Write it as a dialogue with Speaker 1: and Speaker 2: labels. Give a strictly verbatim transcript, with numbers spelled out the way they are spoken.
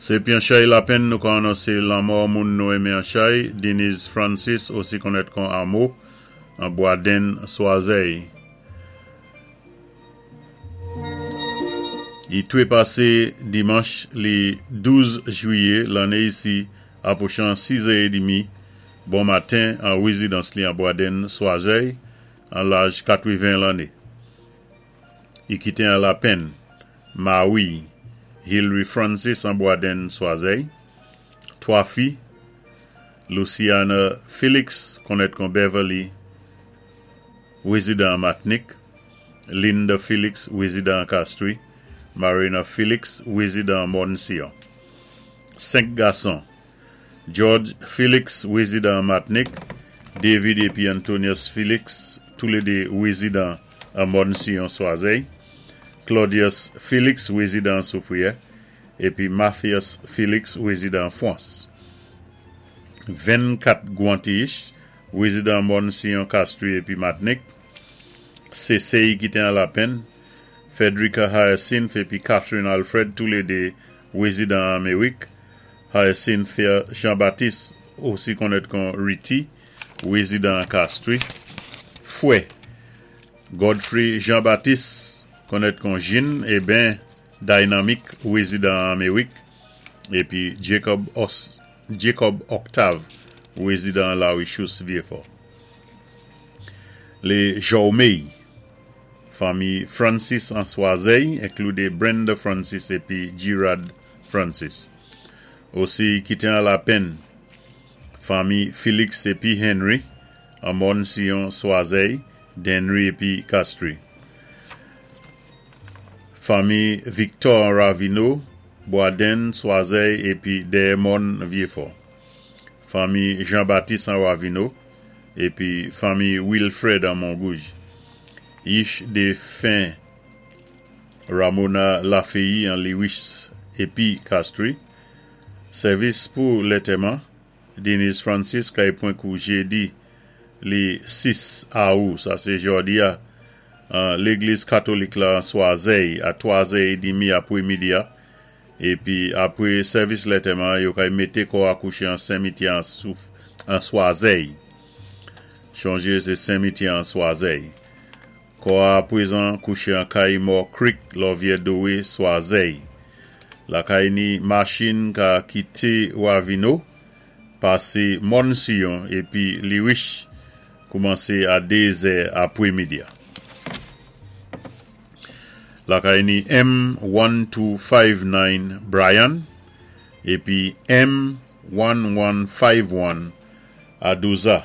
Speaker 1: Sé pi an chay lapenn nou ka anonsé lanmò moun nou enmen an chay, Denise Francis, osi konnèt kon Amo, an Bwadenn, Swazèy. I twé pasé dimanch li douz jwiyé lanné isi apwochan sizè é dimi bon maten an wézidans li an Bwadenn, Swazèy, an laj katweven lanné. I kité an lapenn mawi'y, Hillary Francis an Bwadenn, Swazèy, twa fi, Luciana Felix, konnèt kon Beverly, wézidan an Matnik, Linda Felix, wézidan an Castries, Marina Felix, wézidan an Mòn Siyon. Senk gason, George Felix, wézidan an Matnik, David épi Antonius Felix, toulédé wézidan an Mòn Siyon, Swazèy, Claudius Felix, wézidan an Soufwiyè, épi Mathias Felix, wézidan an Fwans. Vennkat gwan-tiyich, wézidan an Mòn Siyon, Castries épi Matnik, sé sè i kité an lapenn, Frederica Hyacinth épi Catherine Alfred, toulédé wézidan an Améwik, Hyacinthia Jean-Baptiste, osi konnèt kon Riti, wézidan an Castries, fwè, Godfrey Jean-Baptiste, konnèt kon Jean, eben Dynamic, wézidan an Améwik, épi Jacob, Os, Jacob Octave, wézidan Lawicous Vyéfò. Lé Jòméy, fanmi Francis an Swazèy, inkloudé Brenda Francis épi Girard Francis. Osi kité an lapenn, fanmi Félix épi Henry, an Mòn Siyon, Swazèy, Denry épi Castries. Fanmi Victor Ravino, Boisden, Swazèy épi Dermon Vieux-Fort. Fanmi Jean-Baptiste an Ravino, épi fanmi Wilfred an Mongouge. Yich défen Ramona Lafayette an Lewis épi Castries. Sèvis pou lantèman, Denise Francis kay pwan kou jédi li sis awou, sa sé jòdi a, légliz katolik la an Swazèy a twazè é dimi apwé midi a, épi apwé sèvis lantèman yo kay mété kò a kouché an simityè an, souf, an Swazèy. Chonjé sé simityè an Swazèy. Kò a pwézan kouché an kay Mò Creek, Lòvyè Dowé, Swazèy. Lakay ni machin ka kité Wavino, pasé Mòn Siyon épi Liwich koumansé a dézè apwé midi a. Lakay ni M one two five nine Bryan épi M one one five one Adouza.